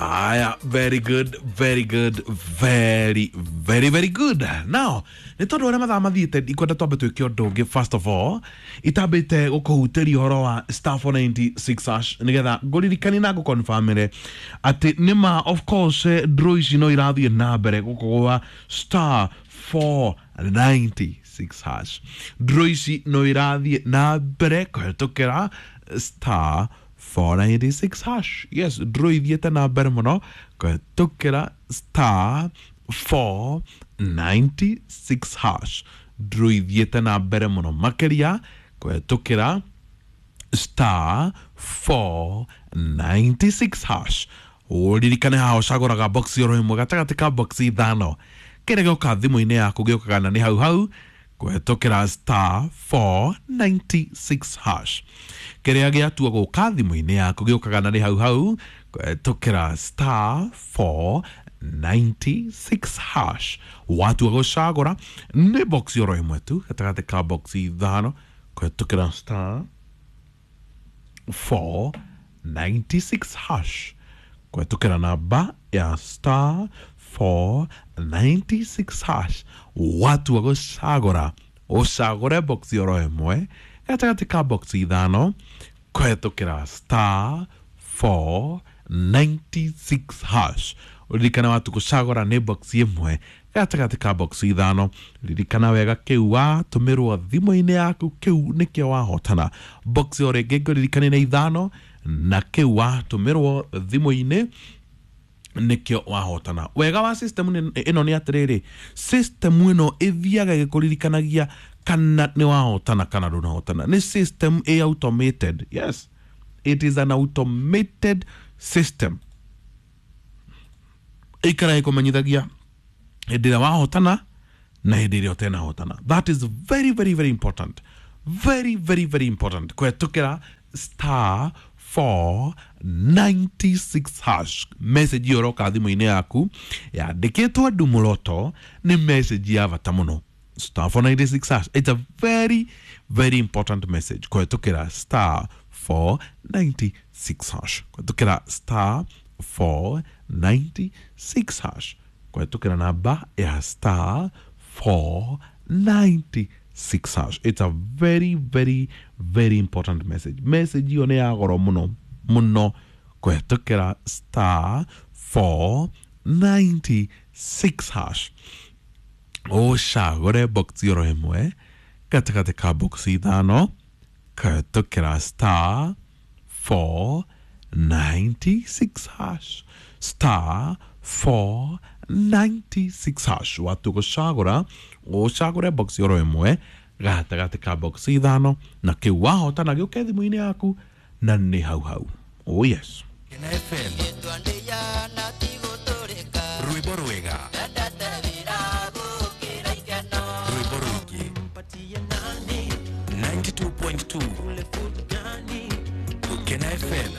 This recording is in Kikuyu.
Aya, very good, very good, very very very good. Now nä tondå å rä a mathaa mathiäte, ikwenda twambe twä ke å ndå å ngä. First of all, itambä gå kå hutä ria å horo wa *496 hash, nä getha ngå ririkani na ngå confirmĩre atä nä ma, of course, draw ici no irathiä na mbere gå kå gwa *496 hash. Draw ici no irathiä na mbere kũhetũkĩra *496 hash. Yes, draw ithiĩte na mbere mũno kũhetũkĩra *496 hash. Draw ithiĩte na mbere mũno makĩria kũhetũkĩra *496 hash. Ũririkane haha ũcagũraga box oro ĩmwe gatagatĩ ka box ithano. Kĩrĩa gĩoka thimũ-inĩ yaku gĩũkaga na nĩ hau hau kũhetũkĩra *496 hash. Kĩrĩa gĩatua gũka thimũ-inĩ yaku gĩũkaga na nĩ hau hau kũhetũkĩra *496 hash. Watua gũcagũra nĩ box oro ĩmwe tu gatagatĩ ka box ithano kũhetũkĩra *496 hash, kũhetũkĩra namba ya *496 hash. Watua gũcagũra, ũcagũre box oro ĩmwe gatagatĩ ka box ithano kũhetũkĩra *496 hash. Ũririkane watu gũcagũra nĩ box ĩmwe gatagatĩ ka box ithano. Ririkana wega, kĩu watũmĩrwo thimũ-inĩ yaku, kĩu nĩkĩo wahotana. Box o rĩngĩ ngũririkane nĩ ithano, na kĩu watũmĩrwo thimũ-inĩ nĩkĩo wahotana. Wega wa system ĩno nĩ atĩrĩrĩ, system ĩno ĩthiaga ĩgĩkũririkanagia kana nĩ wahotana kana ndũnahotana. Nĩ system ĩ automated. Yes, it is an automated system. Ĩikara ĩkũmenyithagia hĩndĩ ĩrĩa wahotana na hĩndĩ ĩrĩa ũtenahotana. That is very very very important, very very very important. Kũhetũkĩra *496 hash, message ĩyo ĩroka thimũ-inĩ yaku yandĩkĩtwo ndumuroto nĩ message ya bata mũno. *496 hash, it's a very very important message. Kũhetũkĩra *496 hash, kũhetũkĩra *496 hash, kũhetũkĩra namba ya *496 hash. It's a very very very important message. Message ĩyo nĩ ya goro mũno mũno. Kũhetũkĩra *496 hash, ũcagũre box oro ĩmwe gatagatĩ ka box ithano kũhetũkĩra *496 hash, *496 hash. Watu gũcagũra, ũcagũre box oro ĩmwe gatagatĩ ka box ithano, na kĩu wahotana gĩũke thimũ-inĩ yaku na nĩ hau hau. Oh yes. Kena FM, rwĩmbo rwega, rwĩmbo rũingĩ, 92.2 Kena FM.